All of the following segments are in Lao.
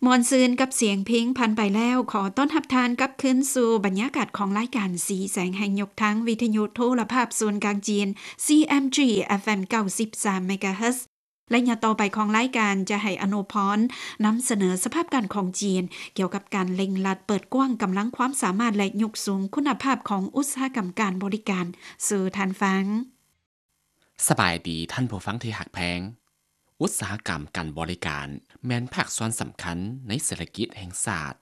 ມ່ວນຊື່ນກັບສຽງເພງຜ່ານໄປແລ້ວ, ຂໍຕ້ອນຮັບທ່ານກັບຄືນສູ່ບັນຍາກາດຂອງລາຍການສີແສງແຫ່ງຍົກທາງ ວິທະຍຸໂທລະພາບສູນກາງຈີນ ຊີເອັມຈີ ເອັຟເອັມ ເກົ້າສິບສາມ ເມກາເຮີດ. ໄລຍະຕໍ່ໄປຂອງລາຍການຈະໃຫ້ອະນຸພອນນຳສະເໜີສະພາບການຂອງຈີນ ກ່ຽວກັບການເລັ່ງລັດເປີດກວ້າງກຳລັງຄວາມສາມາດ ແລະ ຍົກສູງຄຸນນະພາບຂອງອຸດສາຫະກຳການບໍລິການສູ່ທ່ານຟັງ. ສະບາຍດີທ່ານຜູ້ຟັງທີ່ຮັກແພງ. ອຸດສາຫະກຳການບໍລິການແມ່ນພາກສ່ວນສຳຄັນໃນເສດຖະກິດແຫ່ງຊາດ.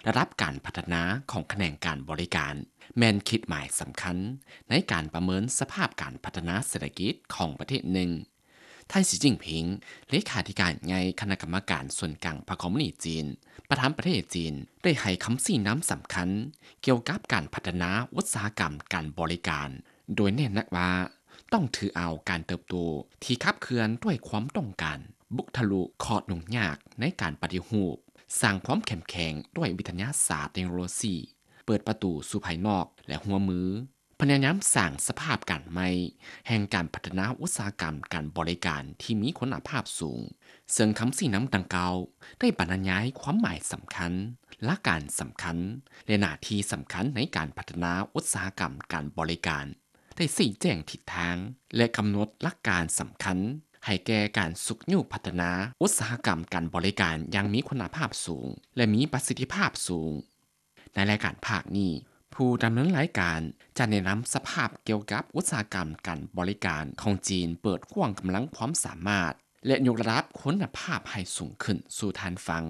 ລະດັບການພັດທະນາຂອງຂະແໜງການບໍລິການແມ່ນຂີດໝາຍສຳຄັນໃນການປະເມີນສະພາບການພັດທະນາເສດຖະກິດຂອງປະເທດໜຶ່ງ. ທ່ານ ສີຈິ້ນຜິງ ເລຂາທິການໃຫຍ່ຄະນະກຳມະການສູນກາງພັກຄອມມູນິດຈີນ ປະຈຳປະເທດຈີນ ໄດ້ໃຫ້ຄຳຊີ້ນຳສຳຄັນກ່ຽວກັບການພັດທະນາອຸດສາຫະກຳການບໍລິການ ໂດຍເນັ້ນໜັກວ່າ ຕ້ອງຖືເອົາການເຕີບໂຕທີ່ຂັບເຄື່ອນດ້ວຍຄວາມຕ້ອງການ, ບຸກທະລຸຂໍ້ຫຍຸ້ງຍາກໃນການປະຕິຮູບ, ສ້າງຄວາມເຂັ້ມແຂງດ້ວຍວິທະຍາສາດເຕັກໂນໂລຊີ, ເປີດປະຕູສູ່ພາຍນອກ ແລະ ຮ່ວມມື ພະຍາຍາມສ້າງສະພາບການໃໝ່ແຫ່ງການພັດທະນາອຸດສາຫະກຳການບໍລິການທີ່ມີຄຸນນະພາບສູງ, ເຊິ່ງຄຳຊີ້ນຳດັ່ງກ່າວໄດ້ບັນຍາຍຄວາມໝາຍສຳຄັນ, ຫຼັກການສຳຄັນ ແລະ ໜ້າທີ່ສຳຄັນໃນການພັດທະນາອຸດສາຫະກຳການບໍລິການ. ໄດ້ຊີ້ແຈງທິດທາງ ແລະ ກຳນົດຫຼັກການສຳຄັນໃຫ້ແກ່ການຊຸກຍູ້ພັດທະນາອຸດສາຫະກຳການບໍລິການຢ່າງມີຄຸນນະພາບສູງ ແລະ ມີປະສິດທິພາບສູງ. ໃນລາຍການພາກນີ້, ຜູ້ດຳເນີນລາຍການຈະແນະນຳສະພາບກ່ຽວກັບອຸດສາຫະກຳການບໍລິການຂອງຈີນເປີດກວ້າງກຳລັງຄວາມສາມາດ ແລະ ຍົກລະດັບຄຸນນະພາບໃຫ້ສູງຂຶ້ນສູ່ທ່ານຟັງ.